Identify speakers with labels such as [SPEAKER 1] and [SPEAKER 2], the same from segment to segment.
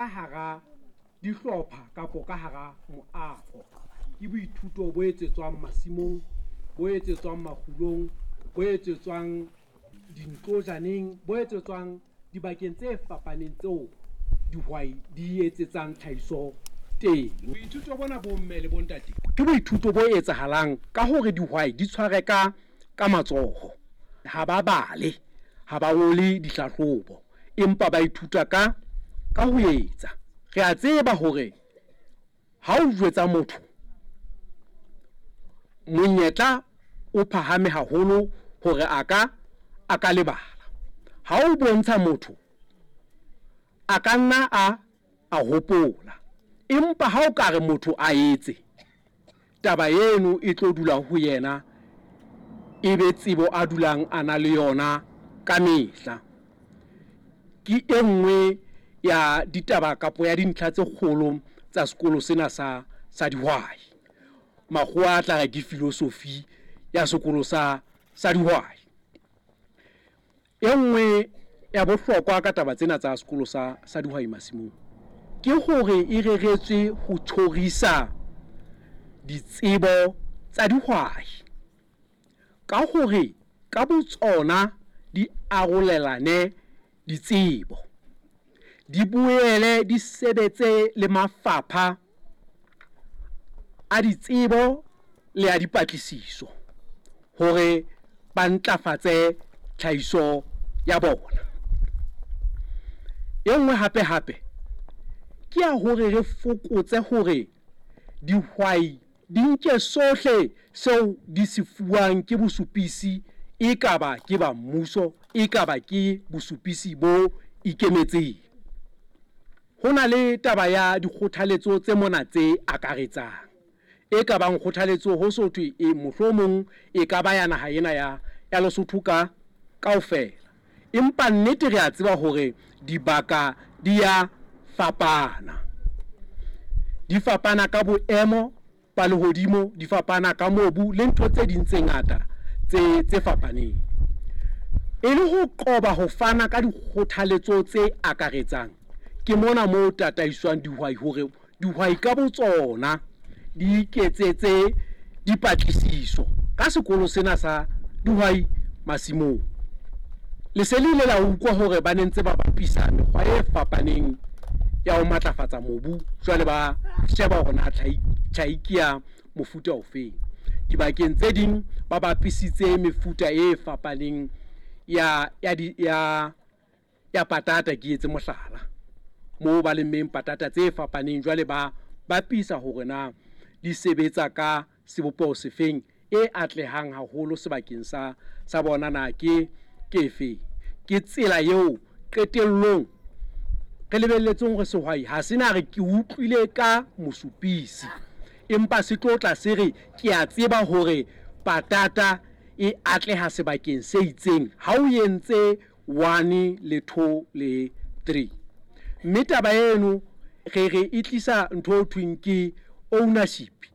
[SPEAKER 1] Hara dihlopha kapa ka hara moaho. Ke boithuto bo etsetswang masimong, bo etsetswang makgulong, bo etsetswang dintlojaneng, bo etsetswang dibakeng tse fapaneng tseo dihwai di etsetsang tlhahiso teng. Boithuto bona bomme le bontate ke boithuto bo etsahalang ka hore dihwai di tshware ka matsoho. Ha ba bale, ha ba ngole dihlahlobo, empa ba ithuta ka ho etsa. Re a tseba hore ha o jwetsa motho, monyetla o phahame haholo hore a ka lebala. Ha o bontsha motho, a ka nna a hopola, empa ha o ka re motho a etse, taba eno e tlo dula ho yena, ebe tsebo a dulang a na le yona ka mehla. Ke e nngwe ya ditaba kapa ya dintlha tse kgolo tsa sekolo sena sa dihwai. Makgowa a tla re ke philosophy ya sekolo sa dihwai. E nngwe ya bohlokwa ka taba tsena tsa sekolo sa dihwai masimong ke hore e reretswe ho tjhorisa ditsebo tsa dihwai ka hore ka botsona di arolelane ditsebo, di boele di sebetse le mafapha a ditsebo le a dipatlisiso hore ba ntlafatse tlhahiso ya bona. E nngwe hapehape ke ya hore re fokotse hore dihwai di nke sohle seo di se fuwang ke bosupisi, ekaba ke ba mmuso, ekaba ke bosupisi bo ikemetseng. Ho na le taba ya dikgothaletso tse mona tse akaretsang, e ka bang kgothaletso ho so thwe e mohlomong e ka ba ya naha ena ya Lesotho ka kaofela. Empa nnete re a tseba hore dibaka di ya fapana. Di fapana ka boemo ba lehodimo, di fapana ka mobu le ntho tse ding tse ngata tse fapaneng. E le ho qoba ho fana ka dikgothaletso tse akaretsang, ke mona moo tataiswang dihwai hore dihwai ka botsona di iketsetse dipatlisiso ka sekolo sena sa dihwai masimong. Le se le ile la utlwa hore ba ne ntse ba bapisa mekgwa e fapaneng ya ho matlafatsa mobu, jwale ba sheba hore na tjhai ke ya mofuta ofeng. Dibakeng tse ding ba bapisitse mefuta e fapaneng ya patata, ke etse mohlala, moo ba lemmeng patata tse fapaneng jwale ba bapisa hore na di sebetsa ka sebopeho sefeng e atlehang haholo sebakeng sa bona na ke efeng. Ke tsela eo qetellong re lebelletseng hore sehwai ha se na re ke utlwile ka mosupisi, empa se tlo tla se re ke a tseba hore patata e atleha sebakeng se itseng ha o entse 1 le 2 le 3. Mme taba eno re re e tlisa ntho e thweng ke ownership.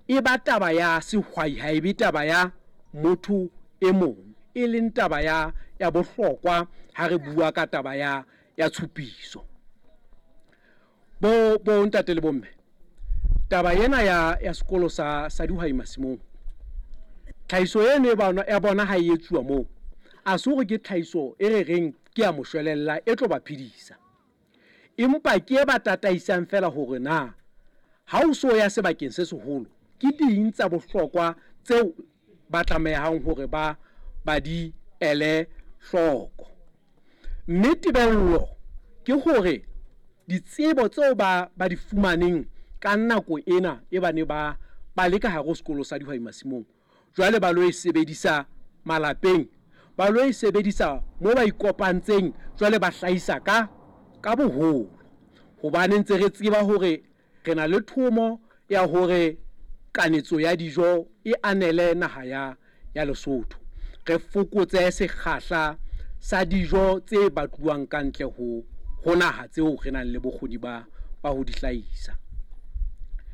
[SPEAKER 1] E ba taba ya sehwai, ha e be taba ya motho e mong, e leng taba ya bohlokwa ha re bua ka taba ya tshupiso. Bo ntate le bomme, taba ena ya sekolo sa dihwai masimong, tlhahiso eno ya bona ha e etsuwa moo, a se hore ke tlhahiso e re reng ke ya moshwelella e tlo ba phedisa, empa ke e ba tataisang fela hore na ha o so ya sebakeng se seholo ke ding tsa bohlokwa tseo ba tlamehang hore ba di ele hloko. Mme tebello ke hore ditsebo tseo ba di fumaneng ka nako ena e bane ba le ka hare ho sekolo sa dihwai masimong, jwale ba lo e sebedisa malapeng, ba lo e sebedisa moo ba ikopantseng, jwale ba hlahisa ka boholo. Hobane ntse re tseba hore re na le thomo ya hore kanetso ya dijo e anele naha ya Lesotho, re fokotse sekgahla sa dijo tse batluwang ka ntle ho naha tseo re nang le bokgoni ba ho di hlahisa.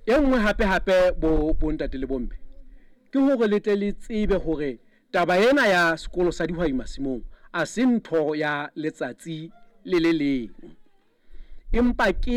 [SPEAKER 1] E nngwe hape bo ntate le bomme ke hore le tle le tsebe hore taba ena ya sekolo sa dihwai masimong a se ntho ya letsatsi le le leng, empa ke